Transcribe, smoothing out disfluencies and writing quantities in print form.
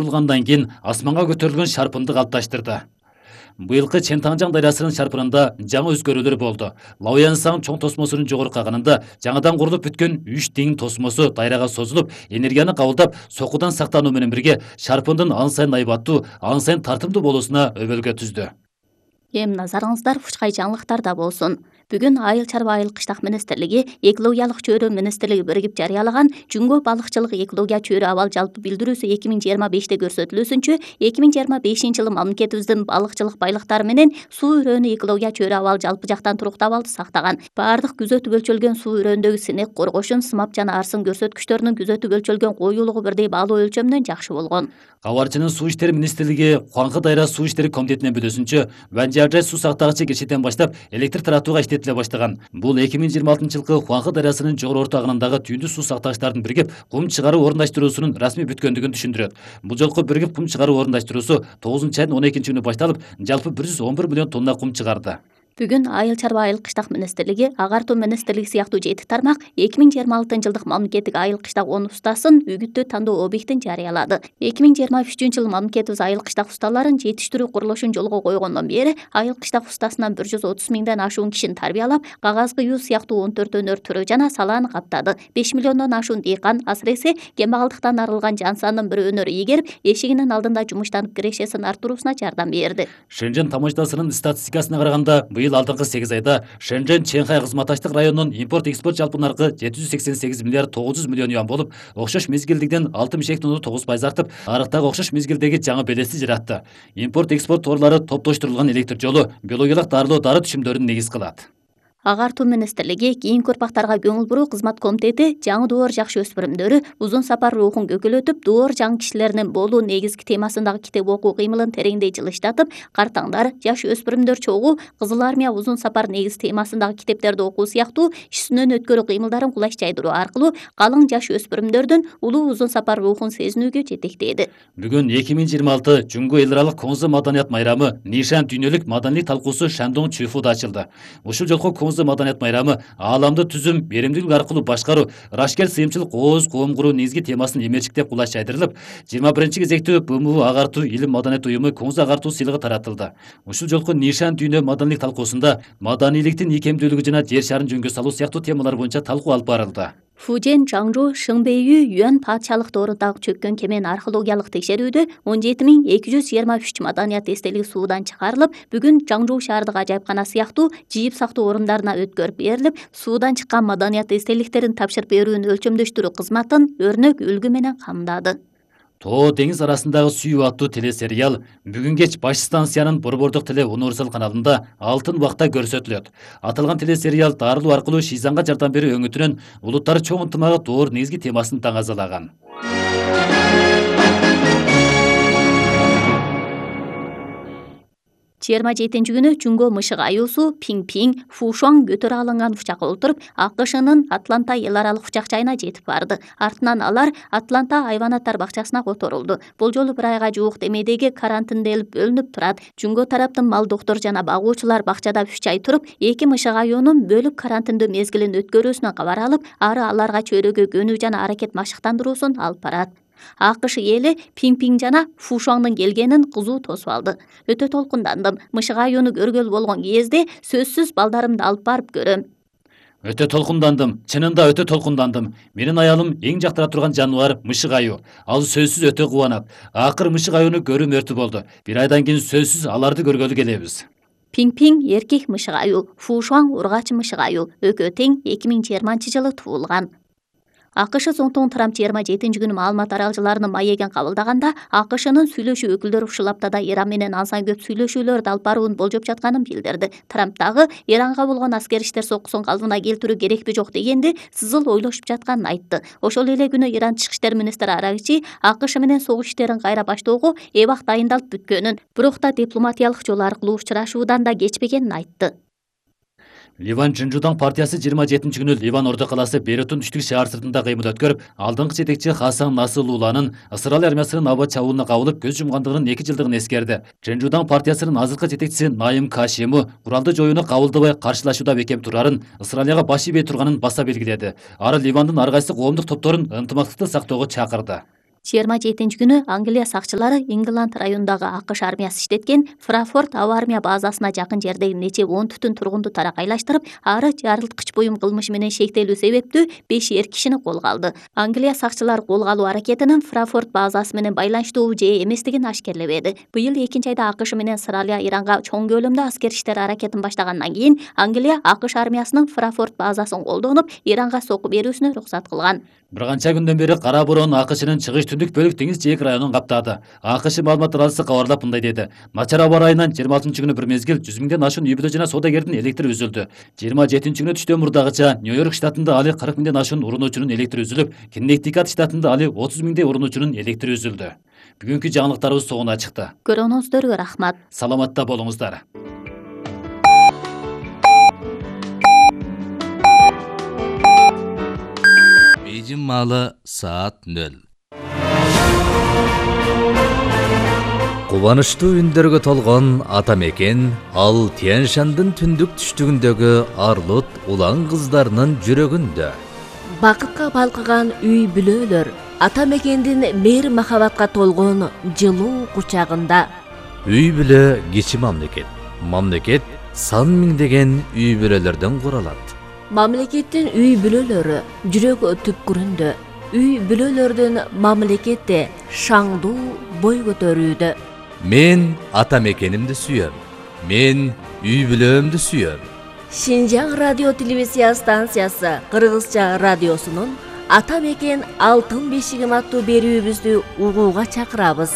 Кылгандан кийин асманга көтөрүлгөн шарпынды калыпташтырды. Быйылкы Чентаңжаң дарыясынын шарпынында жаңы өзгөрүүлөр болду. Лаоянсаң чоң тосмосунун жогору кагынында жаңыдан курулуп бүткөн 3 диң тосмосу дайрага созулуп, энергияны кабылдап, сокудан сактануу менен бирге шарпындын ан сайын айбаттуу, ан сайын тартымдуу болуусуна өбөлгө түздү. Эми назарыңыздар Ушкай жаңылыктарда болсун. Бүгүн Айыл чарба айыл кыштак министрлиги, экологиялык чөйрө министрлиги биригип жарыялаган Жүнгө балыкчылык экология чөйрө абал жалпы билдирүүсү 2025-те көрсөтүлүүсүнчө 2025-жылы мамлекетибиздин балыкчылык байлыктары менен суу үрөөнү экология чөйрө абал жалпы жактан туруктуу абалды сактаган. Баардык күзөтүп өлчөлгөн суу үрөөндөгү синек коргошун, сымап жана арсын көрсөткүчтөрүнүн күзөтүп өлчөлгөн коюулугу бирдей баалуу өлчөмдөн жакшы болгон. Кабарчынын суу иштери министрлиги Куаңкы дайра суу иштери комитетинин билүүсүнчө, Ванжаржай суу сактагычы кечээден баштап электр таратууга иштетиле баштаган. Бул 2026-жылкы Куаңкы дарыясынын жогору орто агынындагы түйүндүү суу сактагычтардын биригип кум чыгаруу орундаштыруусунун расмий бүткөндүгүн түшүндүрөт. Бул жолку биригип кум чыгаруу орундаштыруусу 9-айдын 12-күнү башталып, жалпы 111 миллион тонна кум чыгарды. Бүгүн Айыл чарба айыл кыштак министрлиги, Агартуу министрлиги сыяктуу 7 тармак 2026-жылдык мамлекеттик айыл кыштак 10 устасын үгүттүү тандоо объектин жарыялады. 2023-жылы мамлекетибиз айыл кыштак усталарын жетиштирүү курулушун жолго койгондон бери айыл кыштак устасынан 130 миңден ашуун кишини тарбиялап, кагаз кыюу сыяктуу 14 өнөр түрү жана салааны каптады. 5 миллиондон ашуун дыйкан, асыресе кембагалдыктан арылган жан санынын бир өнөрү ийгерип, эшигинин алдында жумуштанып кирешесин арттырууна жардам берди. Шенжен тамашасынын статистикасына караганда, быйыл алдыңкы 8 айда Шенжен Ченхай кызматташтык районунун импорт-экспорт жалпы наркы 788 миллиард 900 миллион юан болуп, окшош мезгилдигиден 6,9% артып, арыктагы окшош мезгилдеги жаңы белеси жаратты. Импорт-экспорт торлары топтоштурулган электр жолу, биологиялык дарылоо дары түшүмдөрүн негиз кылат. Агартуу министрлиги кийинки урпактарга көңүл буруу кызмат комитети жаңы доор жакшы өспүрүмдөрү узун сапар рухун көкөлөтүп, доор жаңы кишилеринин болуу негизги темасындагы китеп окуу кыймылын тереңдей жылыштатып, картаңдар, жаш өспүрүмдөр чогуу, Кызыл армия узун сапар негиз темасындагы китептерди окуу сыяктуу иш-сүнөн өткөрүү кыймылдарын кулаш жайдыруу аркылуу калың жаш өспүрүмдөрдүн улуу узун сапар рухун сезинүүгө жетектеди. Бүгүн 2026 Жүнгө эл аралык Коңзу маданият майрамы Нишан дүйнөлүк маданий талкуусу Шандоң Чуйфуда ачылды. Ушул жолку Коңзу маданият майрамы ааламды түзүм, беримдүүлүк аркылуу башкаруу, ырашкер сыйымчылык ооз коом куруу негизги темасын эмелчиктеп кулаш жайдырылып, 21-кезектүү БМУ агартуу илим маданият уюму Коңзу агартуу сыйлыгы таратылды. Ушул жолку Нишан дүйнө маданийлик талкуусунда маданийликтин ийкемдүүлүгү жана жер шарын жөнгө салуу сыяктуу темалар боюнча талкуу алып барылды. Фужен, Чаңжу, Шыңбэйүү, Юан патшалык доорундағы чөккөн кеменин археологиялык текшерүүдө 17.223 маданият эстелиги суудан чыгарылып, бүгүн Чаңжу шаардык ажайыпкана сыяктуу жыйып сактоо орундарына өткөрүп берилип, суудан чыккан маданият эстеликтерин тапшырып берүүнү өлчөмдөштүрүү кызматын өрнөк үлгү менен камдады. Тоо деңиз арасындагы сүйүү аттуу телесериал бүгүн кеч баш станциянын Борбордук теле универсал каналында алтын убакта көрсөтүлөт. Аталган телесериал дарылоо аркылуу шизанга жардам берүү өңүтүнөн улуттар чоң ынтымагы доор негизги темасын таңазалаган. 27-күнү Жүнгө мышык аюусу Пиң-Пиң Фушуаң көтөрө алынган учакка отуруп, АКШнын Атланта эл аралык учак жайына жетип барды. Артынан алар Атланта айванаттар бакчасына которулду. Бул жолу бир айга жуук демедеги карантинделип бөлүнүп турат. Жүнгө тараптын мал доктор жана багуучулар бакчада 3 ай туруп, 2 мышык аюунун бөлүп карантиндөө мезгилин өткөрүүсүнөн кабар алып, ары аларга чөйрөгө көнүү жана аракет машыктандыруусун алып барат. АКШ эли Пиң-Пиң жана Фушуаңдын келгенин кызуу тосуп алды. Өтө толкундандым. Мышык аюуну көргөлү болгон кезде сөзсүз балдарымды алып барып көрөм. Өтө толкундандым. Чынында өтө толкундандым. Менин аялым эң жактыра турган жаныбар мышык аюу. Ал сөзсүз өтө кубанат. Акыр мышык аюуну көрүү мөртү болду. Бир айдан кийин сөзсүз аларды көргөлү келебиз. Пиң-Пиң эркек мышык аюу, Фушуаң ургач мышык аюу. Экөө тең 2020-жылы туулган. АКШ Зонтон Трамп 27-күнү маалымат аралжыларынын маегин кабылдаганда, АКШнын сүйлөшүү өкүлдөрү ушул аптада Иран менен асан көп сүйлөшүүлөрдү алып барууну болжоп жатканын билдирди. Трамп дагы Иранга болгон аскер иштер сокусун калыбына келтирүү керекпи жок дегенди сызыл ойлошуп жатканын айтты. Ошол эле күнү Иран тышкы иштер министри Арагчи АКШ менен согуш иштерин кайра баштоого эбак дайындалып бүткөнүн, бирок да дипломатиялык жол аркылуу учурашуудан да кечпегенин айтты. Ливан Жынжудаң партиясы 27-күнү Ливан орто каласы Бейруттун түштүк шаар сыртында кыймыл өткөрүп, алдыңкы жетекчи Хасан Насрулланын Ысырайыл армиясынын аба чабуулуна кабылып көз жумгандыгынын 2 жылдыгын эскерди. Жынжудаң партиясынын азыркы жетекчиси Наим Кашиму куралды жоюуну кабылдабай каршылашууда бекем турарын, Ысырайылга баш ийбей турганын баса белгиледи. Ары Ливандын ар кайсы коомдук топторун ынтымактыкты сактоого чакырды. 27 Англия сакчылары Ингланд районундагы АКШ армиясы иштеткен Фрафорд аба армия базасына жакын жердеги нече 10 түтүн тургунду таракайлаштырып, ары жарылткыч буюм кылмышы менен шектелүү себептүү 5 эр кишини колго алды. Англия сакчылары колго алуу аракетинин Фрафорд базасы менен байланыштуу же эместигин ашкерлебеди. Быйыл 2-айда АКШ менен Ысыралия Иранга чоң көлөмдө аскер иштер аракетин баштагандан кийин Англия АКШ армиясынын Фрафорд базасын колдонуп, Иранга сокку берүүсүнө уруксат кылган. Bir канча күндөн бери Кара Борон АКШнын чыгыш түндүк бөлүк деңиз жээк районун каптады. АКШ маалымат аралыгы кабарлап мындай деди: начар аба ырайынан 26-күнү бір мезгил 100 миңден ашуун үй бүлө жана соодагердин электри үзүлдү. 27-күнү түштөн мурдагыча Нью-Йорк штатында али 40 миңден ашуун уруунуучунун электри үзүлүп, Коннектикут штатында али 30 миңдей уруунуучунун электри үзүлдү. Бүгүнкү жаңылыктарыбыз соңуна чыкты. Көрүүңүздөргө рахмат. Саламатта болуңуздар. Бейжин маалы саат 0. Кубанычтуу үндөргө толгон ата мекен ал Тянь-Шандын түндүк түштүгүндөгү арлут улан кыздарынын жүрөгүндө. Бакытка балкыган үй бүлөлөр ата мекендин мейир махабатка толгон жылуу кучагында. Үй бүлө кичи мамлекет. Мамлекет сан миңдеген үй бүлөлөрдөн куралат. Мамлекеттин үй бүлөлөрү жүрөк түпкүрүндө. Үй бүлөлөрдүн мамлекетте шаңдуу бой көтөрүүдө. Мен ата мекенимди сүйөм. Мен үй бүлөмдү сүйөм. Шинжаң радио телевизия станциясы Кыргызча радиосунун Ата мекен алтын бешигим аттуу берүүбүздү угууга чакырабыз.